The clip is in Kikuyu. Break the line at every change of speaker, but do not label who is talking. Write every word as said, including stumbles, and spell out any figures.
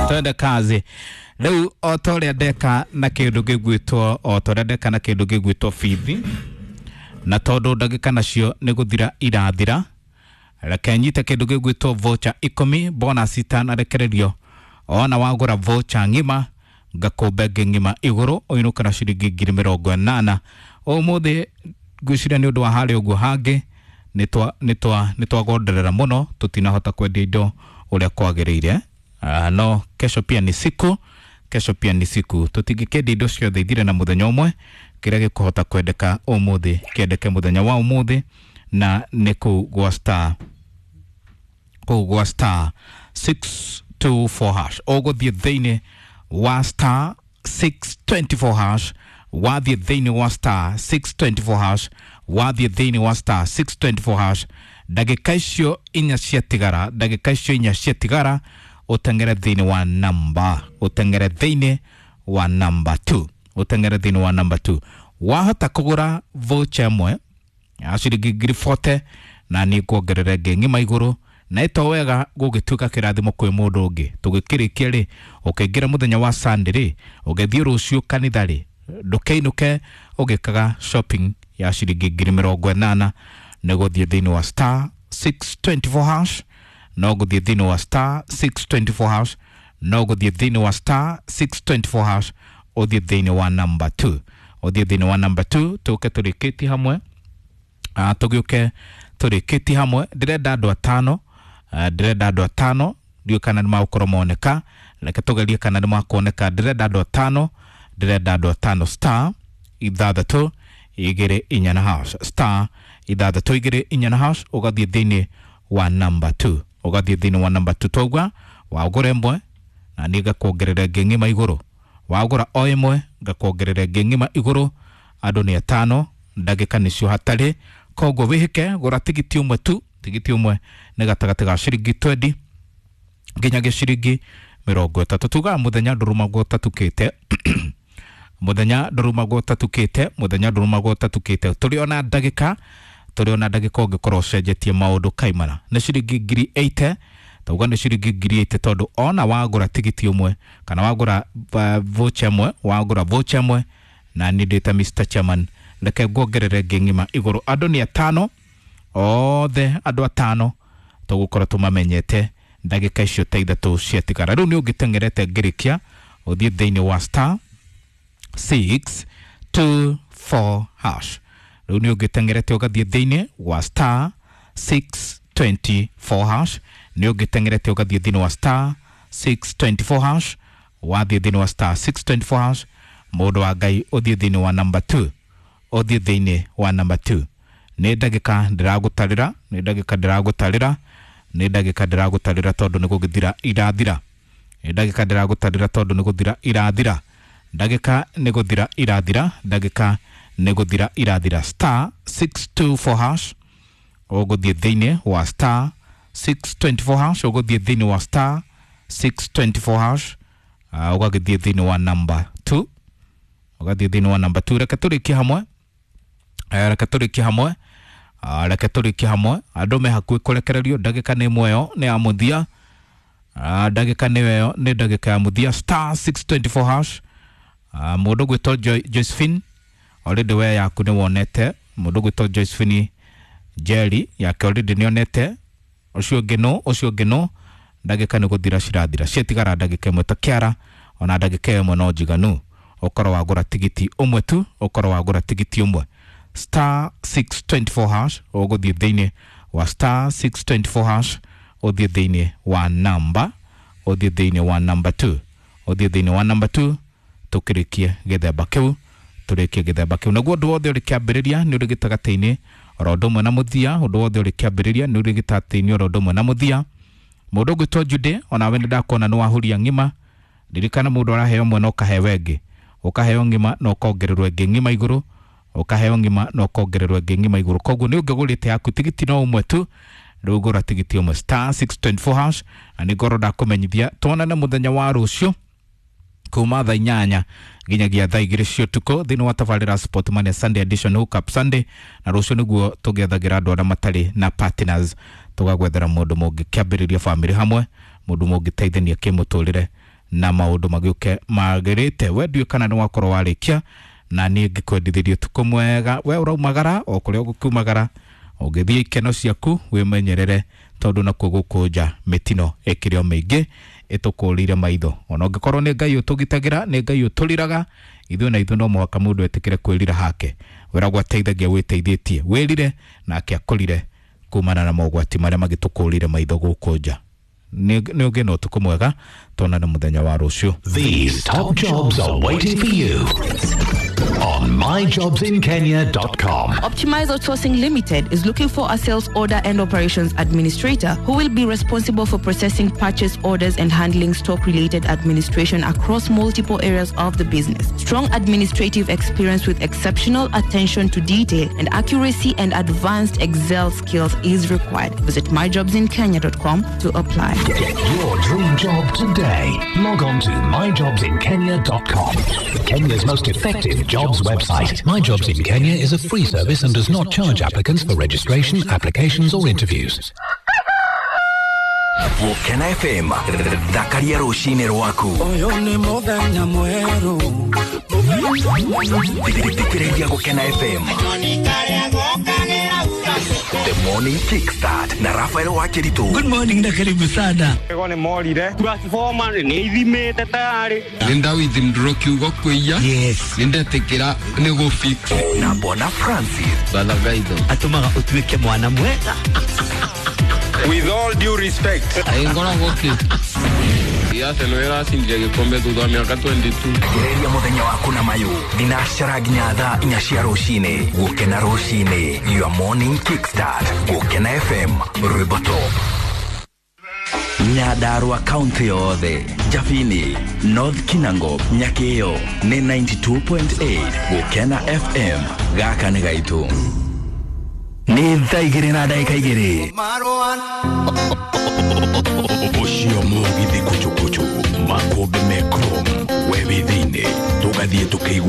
Twende kazi. Rĩu o ta ũrĩa ndeka na kĩndũ gĩgwĩtwo o ta ũrĩa ndeka na kĩndũ gĩgwĩtwo bithi, na tondũ ndagĩka nacio nĩ gũthira irathira, reke nyite kĩndũ gĩgwĩtwo voucher ikũmi bonus itanarekererio. Ona wagũra voucher ng'ima ngakũmbe ĩngĩ ng'ima igũrũ ũinũke na ciringi ngiri mĩrongo ĩnana. Ũmũthĩ ngwĩciria nĩ ũndũ wa harĩa ũguo hangĩ nĩ twagonderera mũno, tũtinahota kwendia indo ũrĩa kwagĩrĩire. Uh, no kesho pia ni siku, kesho pia ni siku. Tũtingĩkĩendia indo ciothe ithire na mũthenya ũmwe. Kĩrĩa gĩkũhota kwendeka ũmũthĩ kĩendeke mũthenya wa ũmũthĩ, na nĩ kũu gwa star kũu gwa star six two four hash. Ũgũthiĩ thĩinĩ wa star six twenty four hash, wathiĩ thĩinĩ wa star six twenty four hash, wathiĩ thĩinĩ wa star six twenty four hash, ndagĩka icio inya ciatigara, ndagĩka icio inya ciatigara ũteng'ere thĩinĩ wa namba, ũteng'ere thĩinĩ wa namba two, ũteng'ere thĩinĩ wa namba two. Wahota kũgũra voucher ĩmwe ya ciringi ngiri forty na niĩ nguongerera ĩngĩ ng'ima igũrũ, na ĩto wega gũgĩtuĩka kĩrathimo kwĩ mũndũ ũngĩ. Tũgĩkĩrĩkia rĩ, ũkĩingĩra mũthenya wa Sunday rĩ, ũgĩthiĩ rũciũ kanitha rĩ, ndũkĩinũke ũgĩkaga shopping ya ciringi ngiri mĩrongo ĩnana. Nĩ gũthiĩ thĩinĩ wa star six twenty four hash, no gũthiĩ thĩinĩ wa star six twenty four hash, no gũthiĩ thĩinĩ wa star six twenty four hash, ũthiĩ thĩinĩ wa number two, ũthiĩ thĩinĩ wa number two. Tũke tũrĩkĩtie hamwe, ah, tũgĩũke tũrĩkĩtie hamwe. Ndĩrenda andũ atano, ah, ndĩrenda andũ atano, ndiũĩ kana nĩ magũkorwo moneka. Reke tũgerie kana nĩ makuoneka. Ndĩrenda andũ atano, ndĩrenda andũ atano. Star ithathatũ igĩrĩ inya na hash, star ithathatũ igĩrĩ inya na hash, ũgathiĩ thĩinĩ wa number two, ũgathiĩ thĩinĩ wa number two. Twaugua wagũra ĩmwe na niĩ ngakuongerera ĩngĩ ng'ima igũrũ, wagũra o ĩmwe ngakuongerera ĩngĩ ng'ima igũrũ. Andũ nĩ atano, ndagĩka nĩcio hatarĩ, koguo wĩhĩke gũra tigiti ũmwe tu. Tigiti ũmwe nĩ gatagatĩ ga ciringi twendi nginyagia ciringi mĩrongo ĩtatũ. Tugaga mũthenya ndũrũmagwo ũtatukĩte, mũthenya ndũrũmagwo ũtatukĩte, mũthenya ndũrũmagwo ũtatukĩte. Tũrĩ ona ndagĩka, tũrĩ ona ndagĩka ũngĩkorwo ũcenjetie maũndũ kaimana. Nĩ ciringi ngiri eighty, tauga nĩ ciringi ngiri eighty tondũ ona wagũra tigiti ũmwe kana wagũra voucher ĩmwe, wagũra voucher ĩmwe na niĩ ndĩ ta Mister Chairman, reke nguongerere ĩngĩ ng'ima igũrũ. Andũ nĩ atano, othe andũ atano tũgũkorwo tũmamenyete ndagĩka icio ta ithatũ ciatigara. Rĩu nĩ ũngĩteng'erete ngĩrĩkia ũthiĩ thĩinĩ wa star six two four hash. Rĩu nĩ ũngĩteng'erete ũgathiĩ thĩinĩ wa star six twenty four hash, nĩ ũngĩteng'erete ũgathiĩ thĩinĩ wa star six twenty four hash, wathiĩ thĩinĩ wa star six twenty four hash, mũndũ wa Ngai ũthiĩ thĩinĩ wa number two, ũthiĩ thĩinĩ wa number two. Nĩ ndagĩka ndĩragũtarĩra, nĩ ndagĩka ndĩragũtarĩra, nĩ ndagĩka ndĩragũtarĩra tondũ nĩ gũgĩthira irathira. Nĩ ndagĩka ndĩragũtarĩra tondũ nĩ gũthira irathira. Ndagĩka nĩ gũthira irathira, ndagĩka nĩ gũthira irathira. Star six two four hash, ũgũthiĩ thĩinĩ wa star six twenty four hash, ũgũthiĩ thĩinĩ wa star six twenty four hash, uh, ũgagĩthiĩ thĩinĩ wa number two, ũgathiĩ thĩinĩ wa number two. Reke tũrĩkie hamwe, eh, reke tũrĩkie hamwe, uh, reke tũrĩkie hamwe. Andũ me hakuhĩ kũrekererio, ndagĩka nĩ ĩmwe ĩyo nĩ ya mũthia, uh, ndagĩka nĩ ĩyo nĩ ndagĩka ya mũthia. Star six twenty four hash. Uh, mũndũ gwĩtwo Jo- Josephine, already we yaku nĩ wonete. Mũndũ gwĩtwo Josephine Jerry yake already nĩ onete. Ũcio ũngĩ nũ, ũcio ũngĩ nũ. Ndagĩka nĩ gũthira cirathira, ciatigara ndagĩka ĩmwe ta kĩara, ona ndagĩka ĩmwe no njiganu. Ũkorwo wagũra tigiti ũmwe tu, ũkorwo wagũra tigiti ũmwe. Star six twenty four hash, ũgũthiĩ thĩinĩ wa star six twenty four hash, ũthiĩ thĩinĩ wa namba, ũthiĩ thĩinĩ wa number two, ũthiĩ thĩinĩ wa number two, tũkĩrĩkie gĩthemba kĩu, tũrĩkie gĩthemba kĩu. Naguo ũndũ wothe ũrĩ kĩambĩrĩria nĩ ũrĩ gĩtagatĩ-inĩ oro ũndũ ũmwe na mũthia, ũndũ wothe ũrĩ kĩambĩrĩria nĩ ũrĩ gĩtagatĩ-inĩ oro ũndũ ũmwe na mũthia. Mũndũ ũgwĩtwo Jude, onawe nĩ ndakuona nĩ wahuria ng'ima. Ririkana mũndũ araheo ĩmwe na ũkaheo ĩngĩ, ũkaheo ng'ima na ũkongererwo ĩngĩ ng'ima igũrũ, ũkaheo ng'ima na ũkongererwo ĩngĩ ng'ima igũrũ. Koguo nĩ ũngĩgũrĩte yaku tigiti no ũmwe tu, rĩu gũra tigiti ũmwe star six twenty four hash. Na nĩ ngorwo ndakũmenyithia tuonane mũthenya wa rũciũ kuma thaa inyanya nginyagia thaa igĩrĩ cia ũtukũ thĩinĩ wa tabarĩra Sport Money Sunday Edition Hook Up Sunday. Na rũciũ nĩguo tũgĩethagĩra andũ arĩa matarĩ na partners, tũgagwethera mũndũ mũngĩkĩambĩrĩria family hamwe, mũndũ mũngĩteithania kĩmũtũrĩre Na maũndũ magĩũke magĩrĩte. We ndiũĩ kana nĩ wakorwo warĩkia, na niĩ ngĩkwendithĩria ũtukũ mwega. We ũraumagara o kũrĩa ũgũkiumagara, ũngĩthiĩ ikeno ciaku wĩmenyerere, tondũ nakuo gũkũ nja mĩtino ĩkĩrĩ o mĩingĩ ĩtũkũrĩire maitho. Ona ũngĩkorwo nĩ Ngai ũtũgitagĩra, nĩ Ngai ũtũriraga ithuĩ, na ithuĩ no mũhaka mũndũ etĩkĩre kwĩrira hake. Wĩragwo ateithagia wĩteithĩtie, wĩrire nake akũrire kumana na mogwati marĩa magĩtũkũrĩire maitho gũkũ nja. Nĩ ũngĩ na ũtukũ mwega, tuonane mũthenya wa rũciũ.
These top jobs are waiting for you on my jobs in kenya dot com.
Optimize Outsourcing Limited is looking for a sales order and operations administrator who will be responsible for processing purchase orders and handling stock-related administration across multiple areas of the business. Strong administrative experience with exceptional attention to detail and accuracy and advanced Excel skills is required. Visit my jobs in kenya dot com to apply.
Get your dream job today. Log on to my jobs in kenya dot com. Kenya's most effective jobs website. My Jobs in Kenya is a free service and does not charge applicants for registration, applications or interviews.
Gũkena F M, thakaria rũcinĩ rwaku.
Ũyũ nĩ mũthenya mwerũ.
Thikĩrĩria Gũkena F M. The Morning Kickstart na Raphael Wakiritu.
Good morning na karibu sana.
Ego nĩ morire. Transformer nĩ ithimĩte tayari.
Nĩ ndawithindũrwo kiugo kwĩia.
Yes.
Nĩ ndetĩkĩra nĩ gũ fix.
Na Bwana Francis.
Balagaitho.
Atũmaga ũtuĩke mwana mwega.
With all due respect.
Aingoragwo kĩ? Arsenal ĩracindirie gĩkombe thutha wa mĩaka twenty-two.
Gereria mũthenya waku na mayũ thinacara nginya thaa inya cia rũcinĩ. Gũkena rũcinĩ, your morning kickstart. Gũkena F M, rwĩmbo top. Nyandarua kaunti yothe, Jabini, North Kinango, Nyakĩo nĩ ninety-two point eight. Gũkena F M, gaka nĩ gaitũ. Nĩ thaa igĩrĩ na ndagĩka igĩrĩ. Ũcio mũgithi kuchukuchu makũmbĩ me chrome we wĩ thĩinĩ tũgathiĩ tũkĩigua.